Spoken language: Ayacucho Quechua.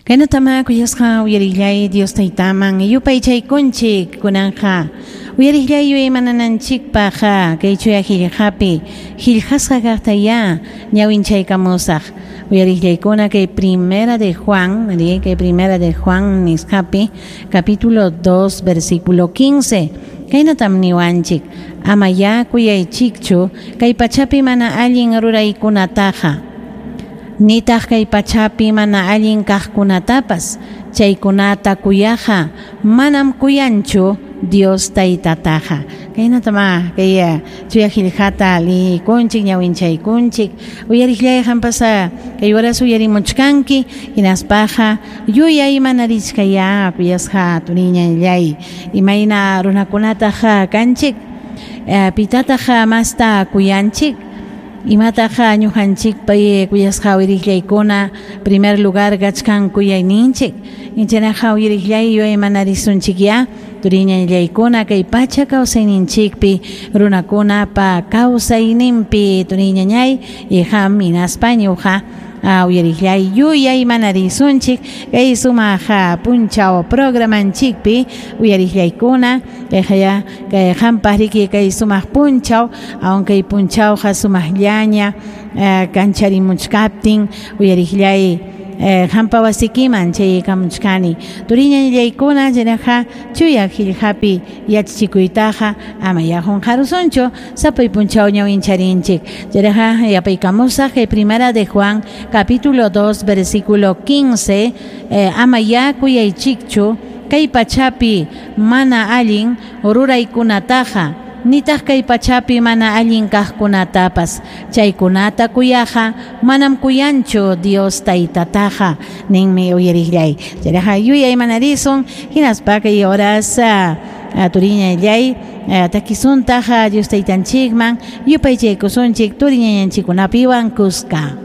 Kaynatama kuyasqa uyarillay Dios taytaman yupaychaykunchik kunanqa uyarillay yuyaymanananchikpaq kay chuya qillqapi qillqasqa kaqtayá ñawinchaykamusaq uyarillaykuna kay Primera de Juan, kay Primera de Juan nisqapi capítulo 2 versículo 15 kaynatam niwanchik amayá kuyaychikchu kay pachapi mana allin ruraykunataqa nitaq kay pachapi mana allin kaqkunatapas chaykunata kuyaqa manam kuyanchu Dios taytataqa kaynatama kay chuya qillqata liykunchik ñawinchaykunchik uyariqllay qampas kay horas uyarimuchkanki hinaspaqa yuyay manarichkaya kuyasqa turiñallay imayna runakunataq kanchik pitataq masta kuyanchik imataq ñuqanchikpa kuyasqa uyariqllaykuna primer lugar kachkan kuyayninchik inchanaqa uyariqllay yuyaymanarisunchikyá turiñallaykuna kay pacha kawsayninchikpi runakunapa kawsayninpi turiñañay iqam hinaspa ñuqa uyariqllay yuyaymanarisunchik kay sumaq punchaw programanchikpi uyariqllaykuna kayqaya kay qampaq riki kay sumaq punchaw aun kay punchawqa sumaqllaña kancharimuchkaptin uyariqllay qampa wasikiman chayaykamuchkani turiñallaykuna chaynaqa chuya qillqapi yachachikuytaqa amaya qunqarusunchu sapay punchaw ñawincharinchik chayraqa yapaykamusaq kay Primera de Juan capítulo 2 versículo 15 amaya kuyaychikchu kay pachapi mana allin ruraykunataqa nitaq kay pachapi mana allin kaqkunatapas chaykunata kuyaqa manam kuyanchu Dios taytataqa ninmi uyariqllay chayraqa yuyaymanarisun hinaspa kay horas turiñallay takisuntaq Dios taytanchikman yupaychaykusunchik turiñañanchikkunapiwan kuska.